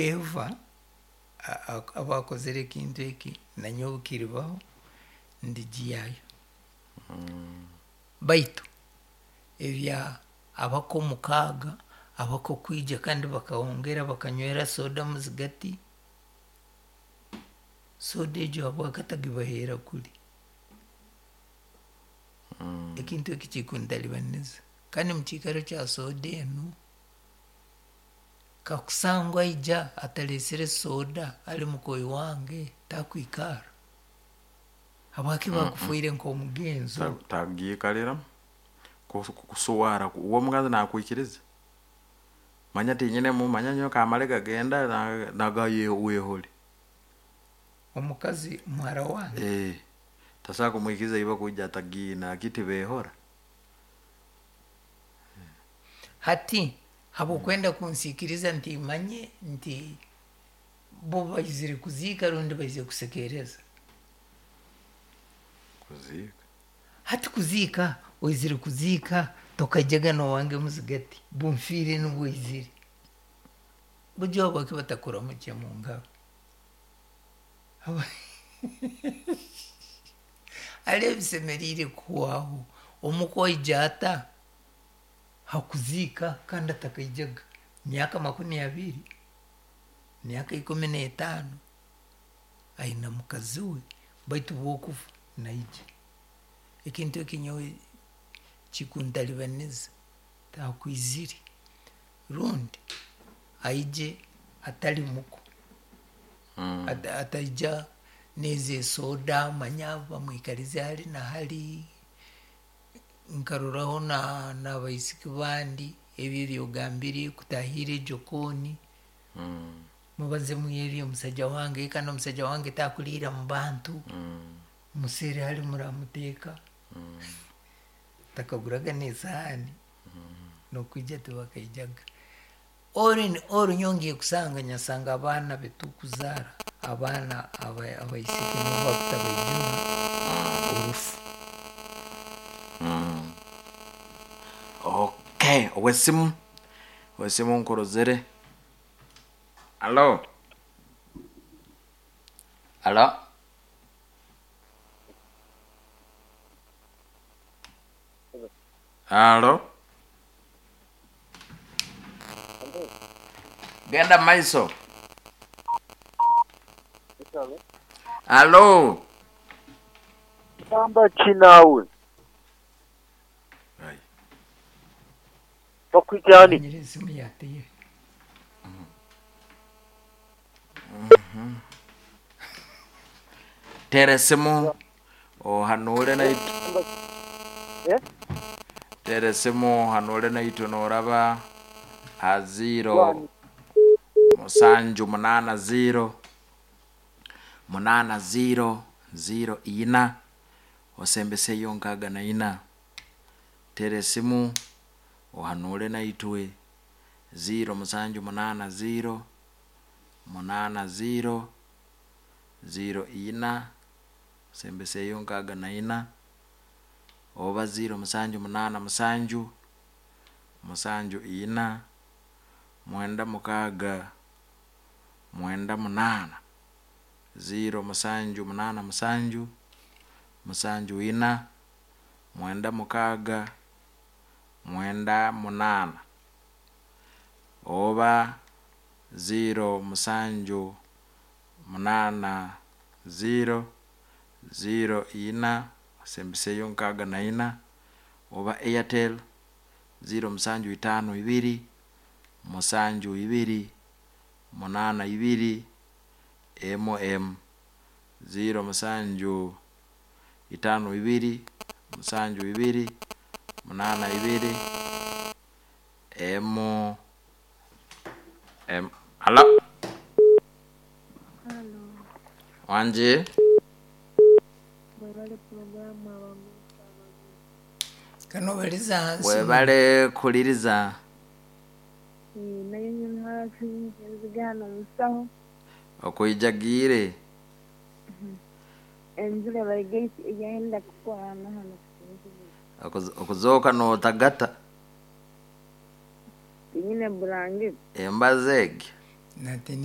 Whoever aba akozere ekintu eki, nanyowe kiribaho, ndigiyayo. Baitu ebya abako mukaaga, abako kwija kandi bakahongera bakanywera soda muzigati, soda egyo habwaki atagibaheera kuli? Ekintu eki kikuntalibaniza. Kandi mukiikaro kya soda enu, kakusangwa aija atalesere soda ali mukoyi wange, takwikara. Habwaki bakufoire nk'omugenzo? Tagiikaliramu kusuwara uwe omukazi nakwikiriza, manya tinyinemu, manya nyowe kamale gagenda naga wehole. Omukazi muhara wange? Tasobola kumwikiriza iba kwija atagiine, akiti behora. Hati habwokwenda kunsiikiriza nti manye nti bo baizire kuziika rundi baizire kusekereza? Kuziika. Hati kuziika, oizire kuziika, tokaijaga n'owange muzigati, bunfiire nubwo oizire. Bujwa habwaki batakuramukya mu ngaro? Hali ebisemeriire kuhwaho. Omuko aija ata hakuziika kandi atakaijaga? Myaka 20, myaka 15, aina mukazi we, baitu bwokufa naija. Ekintu eki nyowe kikuntalibaniza, takwizire rundi aije atali muko. Ataija nezi esoda, manya bamwikalize hali na hali, nkaroraho n'abaisiki bandi, ebi ebyogambire kutahirra ejokoni, mubaze mwebyo omusaija wange, kandi omusaija wange takuliira mu bantu, museere hali muramuteeka, takaguraga n'esahaani, n'okwija tibakaijaga. All nyowe ngiye kusanga, nyasanga abaana betukuzaara, abaana abaisiki nibo bakutabaijura orufu. Okay, owesimu, owesimu nkurozere. Alo? Alo? Alo? Genda maiso. Alo? Gamba ki naawe? Bakwita ani? Manyire esimu yateye. Tera esimu ohanure naitwe. Tera esimu ohanure naitwe noraba ha 0 7 8 0 8 0 0 4 osembeseyo 64. Tera esimu ohanure naitwe 0 7 8 0 8 0 0 4 osembeseyo 64 oba 0 7 8 7 7 4 9 6 9 8 0 7 8 7 7 4 9 6 9 8 oba 0 7 8 0 0 4 osembeseyo 64 oba Airtel 0 7 5 2 7 2 8 2 MM 0 7 5 2 7 2 8 2 M M. Alo? Halo. Wangi? Mwebale pulogulaamu abaguusa abaguusa. Kanobaliza hansi. Webale kuliriza. Naye hafi nzigano musaho. Okwijagiire. Enjura baigaisi eyenda kukwana hano. Okuzooka n'otagata. Tinyine burangiti. Embazi egyo. Nate.